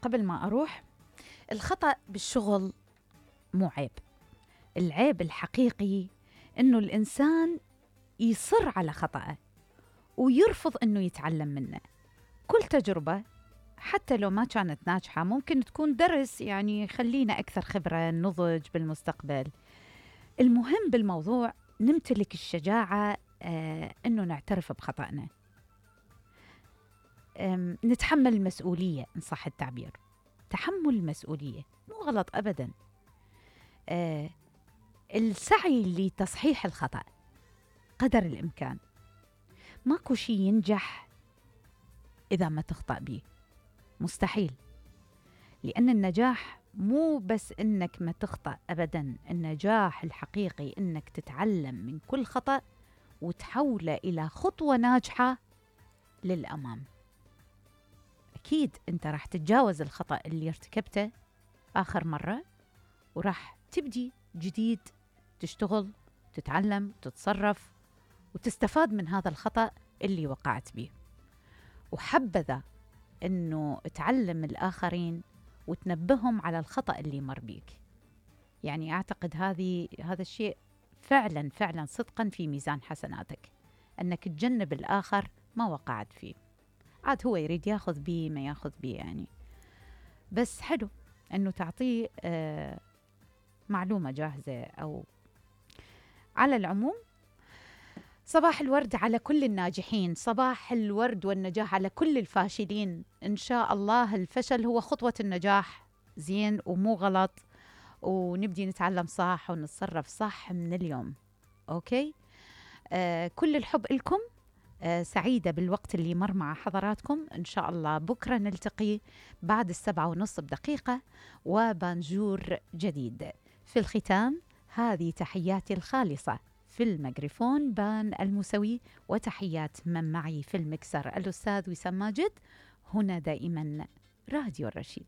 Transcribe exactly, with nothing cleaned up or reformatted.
قبل ما أروح، الخطأ بالشغل مو عيب. العيب الحقيقي إنه الإنسان يصر على خطأه ويرفض إنه يتعلم منه. كل تجربة حتى لو ما كانت ناجحة ممكن تكون درس، يعني خلينا أكثر خبرة، نضج بالمستقبل. المهم بالموضوع نمتلك الشجاعة آه إنه نعترف بخطأنا، نتحمل المسؤولية إن صح التعبير. تحمل المسؤولية مو غلط أبدا. آه السعي لتصحيح الخطأ قدر الإمكان. ماكو شي ينجح إذا ما تخطأ بيه، مستحيل. لأن النجاح مو بس إنك ما تخطأ أبدا، النجاح الحقيقي إنك تتعلم من كل خطأ وتحوله إلى خطوة ناجحة للأمام. أكيد أنت راح تتجاوز الخطأ اللي ارتكبته آخر مرة، وراح تبدي جديد، تشتغل، تتعلم، تتصرف، وتستفاد من هذا الخطأ اللي وقعت به. وحبذا أنه تعلم الآخرين وتنبههم على الخطأ اللي مر بيك. يعني أعتقد هذه هذا الشيء فعلا فعلا صدقا في ميزان حسناتك، أنك تجنب الآخر ما وقعت فيه. عاد هو يريد ياخذ بيه ما ياخذ بيه، يعني بس حلو أنه تعطيه آه معلومة جاهزة. أو على العموم، صباح الورد على كل الناجحين، صباح الورد والنجاح على كل الفاشلين. إن شاء الله الفشل هو خطوة النجاح، زين ومو غلط، ونبدي نتعلم صح ونتصرف صح من اليوم. أوكي، آه كل الحب لكم. آه سعيدة بالوقت اللي مر مع حضراتكم. إن شاء الله بكرة نلتقي بعد السبعة ونص بدقيقة وبانجور جديد. في الختام، هذه تحياتي الخالصة في الميكروفون بان الموسوي، وتحيات من معي في المكسر الأستاذ وسام ماجد. هنا دائما راديو الرشيد.